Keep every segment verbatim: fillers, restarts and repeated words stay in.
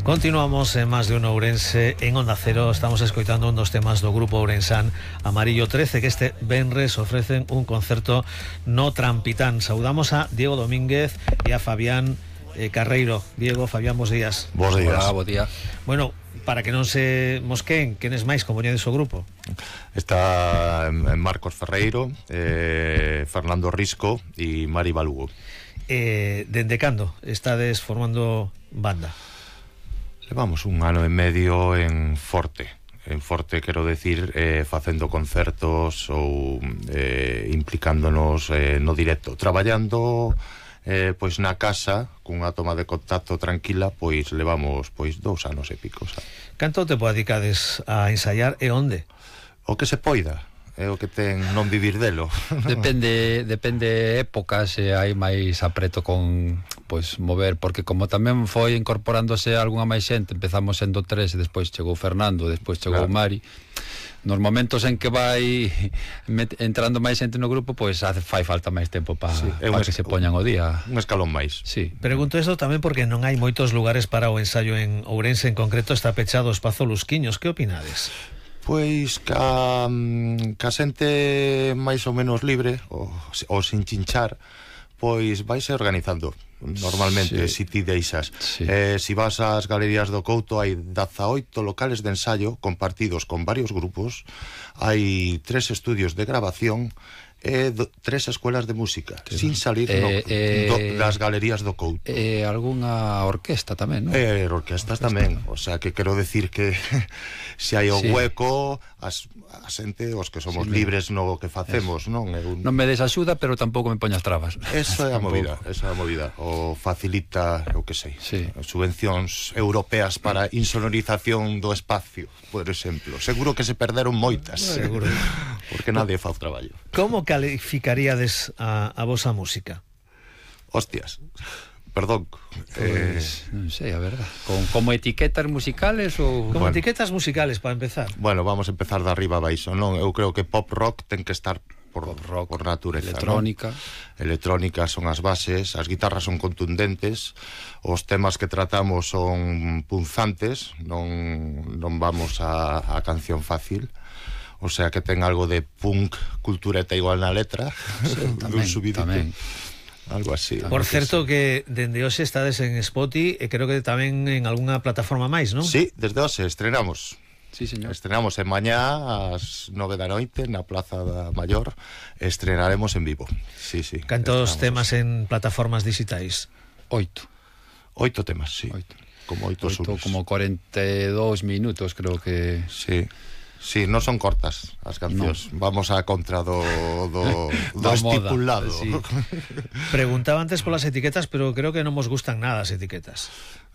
Continuamos en Más de un Ourense en Onda Cero. Estamos escoitando un dos temas do grupo ourensán Amarillo trece, que este venres ofrecen un concerto no Trampitán. Saudamos a Diego Domínguez e a Fabián eh, Carreiro. Diego, Fabián, bos días. Bos días. Hola, bo día. Bueno, para que non se mosqueen, quenes máis compoñedes o grupo? Está Marcos Ferreiro, eh, Fernando Risco e Mari Balugo. Eh, dende cando estades formando banda? Levamos un ano e medio en Forte. En Forte, quero decir, eh, facendo concertos ou eh, implicándonos eh, no directo, traballando eh, pois na casa cunha toma de contacto tranquila. Pois levamos pois dous anos e pico, sabe? Canto tempo dedicades a ensaiar e onde? O que se poida, é o que ten non vivir delo. Depende, depende épocas, se hai máis apreto con pois mover, porque como tamén foi incorporándose algunha máis xente, empezamos sendo tres e despois chegou Fernando, despois chegou Claro. Mari. Nos momentos en que vai met, entrando máis xente no grupo, pois hace, fai falta máis tempo para Sí, é pa un que es- se poñan o día. Un escalón máis. Sí. Pregunto isto tamén porque non hai moitos lugares para o ensaio en Ourense. En concreto está pechado o espazo Lusquiños. Que opinades? Pois ca, mm, ca xente máis ou menos libre ou, ou sin chinchar, pois vaise organizando normalmente, Sí. si ti deixas. Sí. Eh, si vas ás galerías do Couto, hai dezaoito locales de ensayo compartidos con varios grupos, hai tres estudios de grabación e do, tres escuelas de música, Sí. sin salir Eh, no, eh, do, das galerías do Couto. E algunha orquesta tamén, non? E orquestas tamén, o sea, que quero decir que se hai o Sí. hueco, as, a xente, os que somos Sí, libres no que facemos, non? É un... Non me des axuda, pero tampouco me poñas trabas. Esa é a Tampouco. movida, esa é a movida. O facilita, eu que sei, Sí. subvencións europeas para insonorización do espacio, por exemplo. Seguro que se perderon moitas. Seguro. Porque nadie fa o traballo. Como calificaríades a, a vosa música? Hostias. Perdón. Eh, Pois, non sei, a verdad. Con, como etiquetas musicales ou... Como Bueno. etiquetas musicales, para empezar. bueno, vamos a empezar de arriba a baixo, non? Eu creo que pop rock ten que estar por, Pop rock, por natureza, electrónica. non? Electrónica son as bases, as guitarras son contundentes, os temas que tratamos son punzantes, non, non vamos a, a canción fácil. O sea que ten algo de punk, cultureta igual na letra, Sí, dun tamén, subidito, tamén. algo así. Por certo que dende hoxe estades en Spotify e creo que tamén en algunha plataforma máis, non? Sí, desde hoxe estrenamos. Sí, señor. Estrenamos en mañá ás nove da noite na Plaza da Maior. Estrenaremos en vivo. Sí, sí. Cantos estrenamos temas en plataformas digitais? Oito. Oito temas, sí. Oito. Como oito, Oito, subs. como cuarenta e dous minutos, creo que... Sí. Sí, non son cortas as cancións. No. Vamos a contra do, do, do Da moda, estipulado. sí. Preguntaba antes polas etiquetas, pero creo que non vos gustan nada as etiquetas.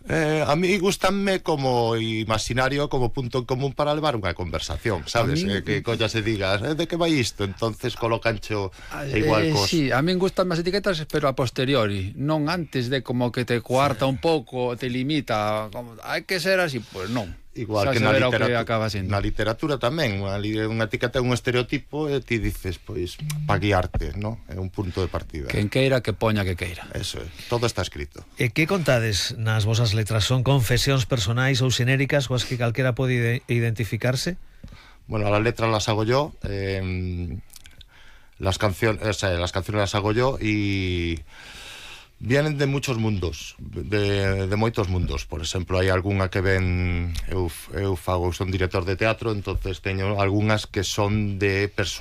Eh, a mí gustanme como imaginario, como punto en común para levar unha conversación, sabes? A mí- Eh, que colla se digas, eh, de que vai isto? Entonces colocancho igual Eh, cos... sí, a min gustan as etiquetas, pero a posteriori, non antes de como que te cuarta un pouco, te limita, como, hai que ser así, pues non. Igual Xa que se na verá o literatura, que acaba sendo. na literatura tamén, unha, li- unha etiqueta é un estereotipo e ti dices, pois, para guiarte, ¿no? É un punto de partida. Quen queira que poña que queira. Eso é, todo está escrito. E que contades nas vosas letras? Son confesións personais ou xenéricas coas que calquera pode ide- identificarse? Bueno, las letras las hago yo, eh, las canciones, o sea, las canciones las hago yo y vienen de muchos mundos, de, de moitos mundos. Por exemplo, hai algunha que ven, eu, eu fago, son director de teatro, entonces teño algunhas que son de persoas